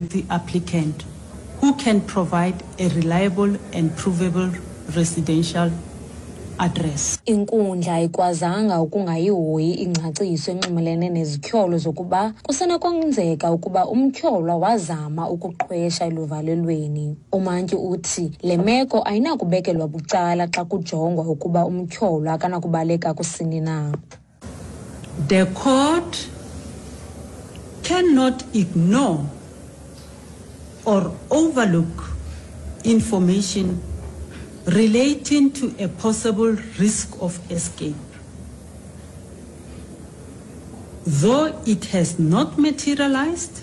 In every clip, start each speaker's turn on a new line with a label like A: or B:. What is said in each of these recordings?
A: The applicant who can provide a reliable and provable residential address.
B: Inkundla ayikwazanga ukungayihoyi ingcaciso enxumelene nezityholo zokuba kusenokwenzeka ukuba umtyholwa wazama ukuqhwesha eluvalelweni. Umantyi uthi le meko ayinakubekelwa bucala xa kujongwa ukuba umtyholwa akanakubaleka kusini na.
A: The court cannot ignore or overlook information relating to a possible risk of escape. Though it has not materialized,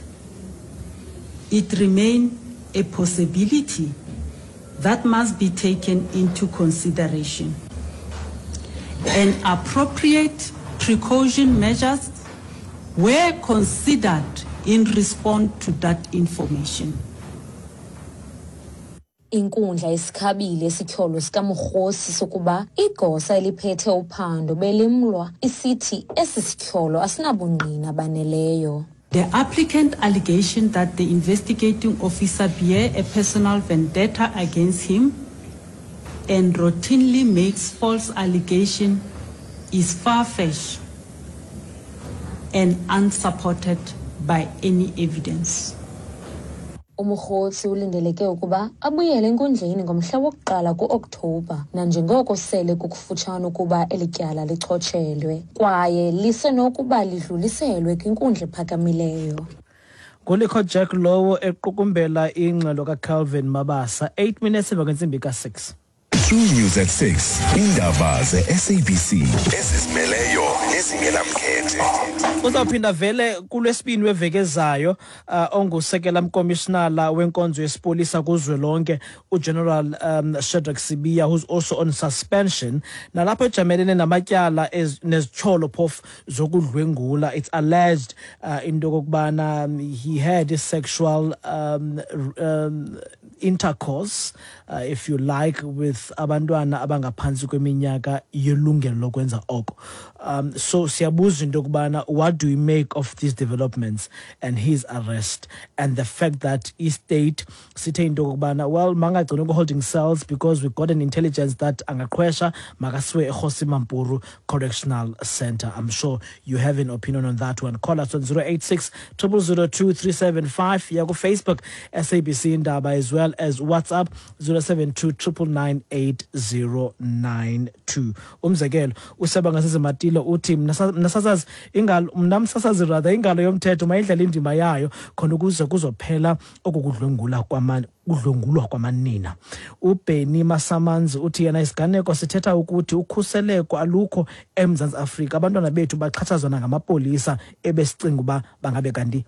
A: it remains a possibility that must be taken into consideration. And appropriate precaution measures were considered in response to that information.
B: Inkundla isikhabile isityholo sikaMokgosi sokuba igosa eliphethe uphando belimlwa isithi esi sityholo asinabungqina baneleyo.
A: The applicant allegation that the investigating officer bear a personal vendetta against him and routinely makes false allegation is far-fetched and unsupported by any evidence.
B: UMokgotsi ulindeleke ukuba abuyele enkundleni ngomhla wokuqala ku-Okthobha nanjengoko sele kukufutshane ukuba eli tyala lichotshelwe kwaye lisenokuba lidluliselwe kwinkundla ephakamileyo.
C: Ngulikho Jack lowo equkumbela ingxelo kaCalvin Mabasa 8 minutes emva kwentsimbi ka-6.
D: True News at 6 iindaba ze-SABC ezizimeleyo nezingenamkhethe.
C: Uzawuphinda vele kulwesibini weveki ezayo uh, ongusekela mkomishinala wenkonzo yesipolisa kuzwelonke uGeneral um, Shadrack Sibiya who's also on suspension nalapho ejamelene namatyala nezityholo phofu zokudlwengula. It's alleged uh, into yokokubana um, he had sexual um, um, intercourse uh, if you like with abantwana abangaphantsi kweminyaka yelungelo lokwenza oko um so siyabuza into yokubana what do we make of these developments and his arrest and the fact that istate sithe into yokubana well mangagcinwe ku-holding cells because we got an intelligence that angaqhwesha makasiwe eKgosi Mampuru Correctional Center. I'm sure you have an opinion on that one. Call us on 086 002 375 yaku Facebook SABC Indaba as well as WhatsApp 072 9998092. Umzekelo useba ngasezimatilo uthi mna sasazi ingalo mna msasazi rather ingalo yomthetho mayidlale indima yayo khona ukuze kuzophela okukudlwengula kudlwengulwa kwamanina. UBenny Masamanzi uthi yena isiganeko sithetha ukuthi ukhuseleko alukho eMzantsi Afrika. Abantwana bethu baxhatshazwa nangamapolisa ebesicinga uba bangabe kanti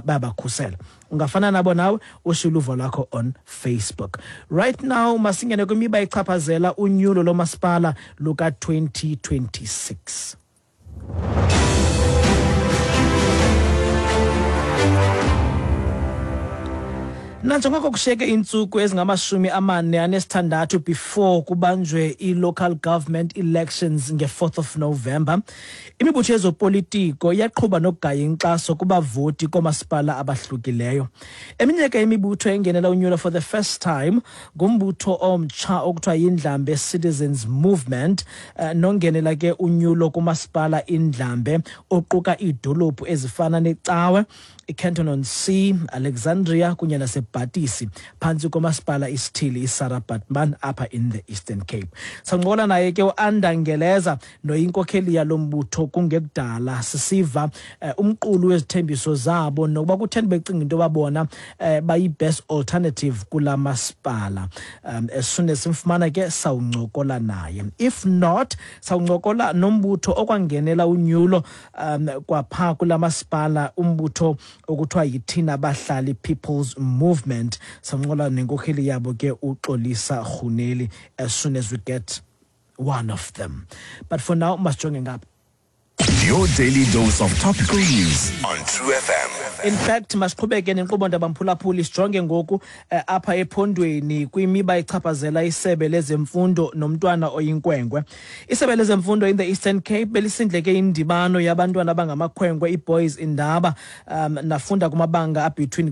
C: bayabakhusela. Ungafana nabo nawe ushiye uluvo lwakho on Facebook. Right now masingene kwimiba echaphazela unyulo lomasipala luka-2026. Nanjengoko kushiyeke iintsuku ezingamashumi amane anesithandathu before kubanjwe i-local government elections nge-4th of November, imibutho yezopolitiko iyaqhuba nokugaya inkxaso kubavoti koomasipala abahlukileyo. Eminye ke imibutho engenela unyulo for the first time ngumbutho omtsha okuthiwa yiNdlambe Citizens Movement eh, nongenela ke unyulo kumasipala iNdlambe oquka iidolophu ezifana neCawe, iCanton on Sea, Alexandria kunye naseBhatisi phantsi komasipala isithili iSarah Baartman apha in the Eastern Cape. Sancokola naye ke uAnda Ngeleza noyinkokheli yalo mbutho kungekudala sisiva eh, umqulu wezithembiso zabo nokuba kutheni becinga into yoba bona eh, bayi-best alternative kula masipala. Um, as soon as simfumana ke sawuncokola naye. If not, sawuncokola nombutho okwangenela unyulo um kwapha kula masipala umbutho okuthiwa yithina bahlali People's Movement. Sawuncokola nenkokheli yabo ke uXolisa Rhuneli as soon as we get one of them. But for now masijonge ngapha.
D: Your daily dose of topical news on True FM.
C: In fact, masiqhubeke nenkqubo, ndabamphulaphuli, sijonge ngoku apha ephondweni kwimiba echaphazela isebe lezemfundo nomntwana oyinkwenkwe. Isebe lezemfundo in the Eastern Cape belisindleke indibano yabantwana abangamakhwenkwe, iBoys Indaba, nafunda kumabanga abetween